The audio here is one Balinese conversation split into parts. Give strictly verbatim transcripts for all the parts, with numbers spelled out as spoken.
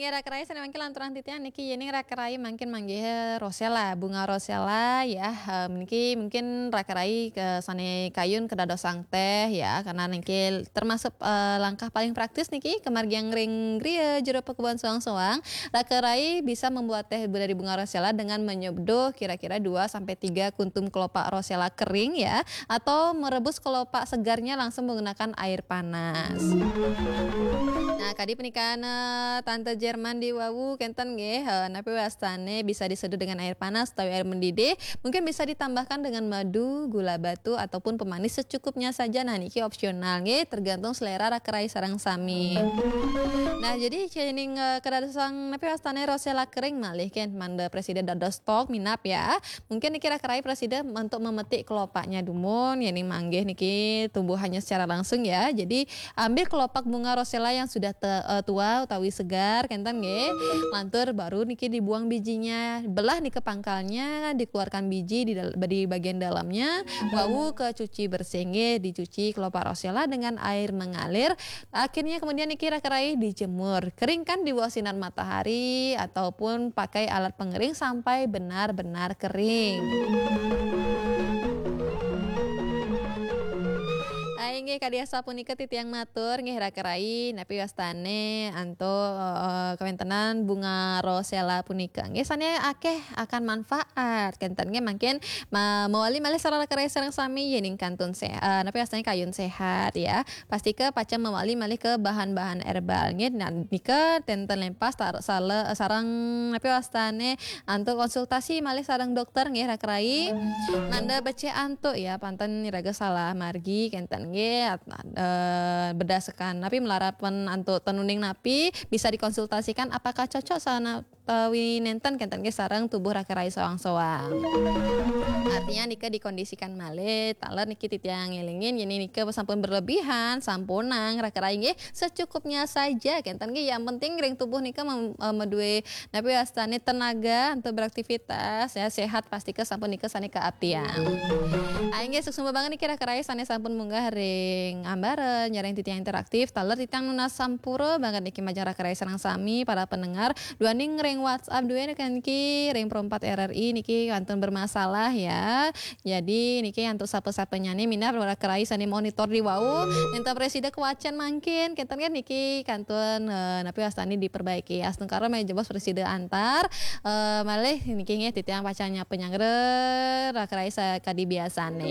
Ya, raka rai sané mangkin lanturang titiang niki, yéning raka rai mangkin manggih rosella, bunga rosella ya. Eh, niki mungkin raka rai ke sané kayun kadadosang téh ya, karena niki termasuk, eh, langkah paling praktis niki, kemargiang ring griya jero pakebunan soang-soang. Raka rai bisa membuat teh dari bunga rosella dengan menyeduh kira-kira dua sampai tiga kuntum kelopak rosella kering ya, atau merebus kelopak segarnya langsung menggunakan air panas. Nah, kadi punika, eh, Tante Jerman di wau kénten nggih, eh, napi wastané bisa diseduh dengan air panas utawi air mendidih, mungkin bisa ditambahkan dengan madu, gula batu, ataupun pemanis secukupnya saja. Nah, niki opsional nggih, tergantung selera raka rai sareng sami. Nah, jadi yéning, eh, kadadosang napi wastané rosella kering malih kén, mangda prasida dados stok minab ya. Mungkin niki raka rai prasida untuk memetik kelopaknya dumun, yéning manggih niki tumbuhannya secara langsung ya. Jadi, ambil kelopak bunga rosella yang sudah te-, eh, tua utawi segar, kénten nggih. Lantur baru niki dibuang bijinya, belah nika pangkalnya, dikeluarkan biji di dal-, di bagian dalamnya, wau ke cuci bersih nggih, dicuci kelopak rosella dengan air mengalir. Akhirnya kemudian niki raka rai dijemur. Keringkan di bawah sinar matahari ataupun pakai alat pengering sampai benar-benar kering. Ah, inggih, kadi asapunika titiang matur nggih raka rai, napi wastané antuk, eh, kawéntenan bunga rosella punika. Nggih, sané akéh akan manfaat. Kénten nggih mangkin ma-, mawali malih sareng raka rai sareng sami yéning kantun séhat, eh, napi wastané kayun séhat ya. Pastika pacang mawali malih ke bahan-bahan herbal nggih. Nah, nika ten-, ten lempas tar-, sale-, sareng napi wastané antuk konsultasi malih sareng dokter nggih raka rai. Nanda becik antuk ya, panten iraga salah margi kénten nggih, at-, eh, berdasarkan napi malarapan antuk ten uning napi bisa dikonsultasikan apakah cocok sana utawi nénten kénten nggih sareng tubuh raka rai soang-soang. Artinya nika dikondisikan malih, taler niki titiang ngélingin, yén nika sampun berlebihan, sampunang raka rai nggih, secukupnya saja kénten nggih. Yang penting ring tubuh nika mem-, eh, madué napi wastané tenaga untuk beraktivitas ya, sehat, pastika sampun nika sané kaaptiang. Ah, inggih, suksma banget niki raka rai sané sampun munggah ring ambara nyarengin titiang interaktif, taler titiang nunas sampura banget niki majeng raka rai sareng sami para pendengar. Duaning ring WhatsApp duwé niki ring Pro empat R R I niki kantun bermasalah ya. Jadi niki antuk sapa-sapanyané minab raka rai sané monitor di wau. Nénten prasida kawacén mangkin, kénten kan niki kantun, eh, napi wastané diperbaiki. Astungkara malih jebos prasida antar, eh, malih niki nggih titiang pacang nyapa nyanggra raka rai sakadi biasané.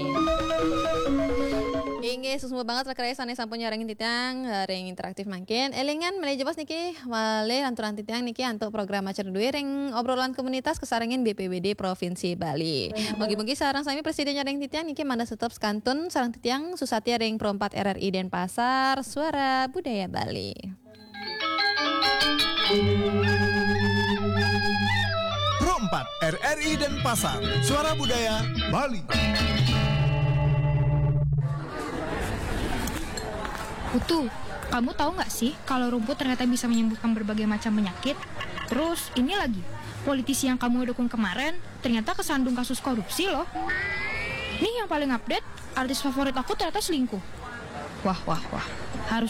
Inggih, suksma banget raka rai sané sampun nyarengin titiang, eh, ring interaktif mangkin. Élingan malih jebos niki malih lanturang titiang niki antuk program acara duwé ring obrolan komunitas kasarengin B P B D Provinsi Bali. Mugi-mugi sareng sami prasida nyarengin titiang niki mangda tetep kantun sareng titiang Susatia ring Pro empat R R I Denpasar, Suara Budaya Bali. Pro empat R R I Denpasar, Suara Budaya Bali. Putu, kamu tahu nggak sih kalau rumput ternyata bisa menyembuhkan berbagai macam penyakit? Terus ini lagi, politisi yang kamu dukung kemarin ternyata kesandung kasus korupsi loh. Nih yang paling update, artis favorit aku ternyata selingkuh. Wah, wah, wah. Harus